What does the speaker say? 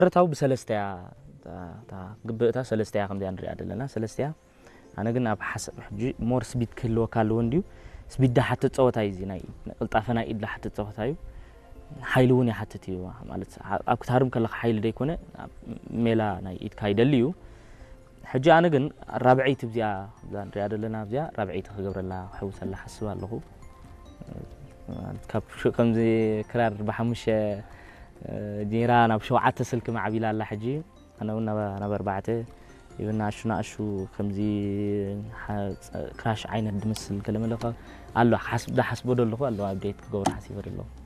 መሰረታዊ ብሰለስተ እያ። እታ ግብእታ ሰለስተ እያ፣ ከምዚኣ ንሪኣ ዘለና ሰለስተ እያ። ኣነ ግን ኣብ ሓሳብ ሕጂ ሞር ስቢድ ክህልወካ ኣለዎ እንድዩ። ስቢድ ዳሓት ትፀወታ እዩ፣ እዚ ናይ ቅልጣፈ ናይ ኢድ ዳሓት ትፀወታ እዩ። ሓይሊ እውን ይሓትት እዩ። ማለት ኣብ ክትሃርም ከለካ ሓይሊ ደይኮነ፣ ሜላ ናይ ኢድካ ይደሊ እዩ። ሕጂ ኣነ ግን ራብዐይቲ እዚኣ እዛ ንሪኣ ዘለና እዚኣ ራብዐይቲ ክገብረላ ክሕውሰላ ሓስብ ኣለኹ። ማለት ካብ ሽ- ከምዚ ክራር ብሓሙሽተ እ፣ ጌራ ናብ ሸውዓተ ስልኪ ማዕቢላ ኣላ ሕጂ። ኣነ እውን ናብ ናብ ኣርባዕተ ይብና ኣሹ ንኣሹ ከምዚ ሓ- ክራሽ ዓይነት ድመስል ገለመለ ኣሎ። ሓስብ ዳሓስቦ ዶ ኣለኹ ኣሎ፣ ኣብዴት ክገብሮ ሓሲበ ዶ ኣለኹ።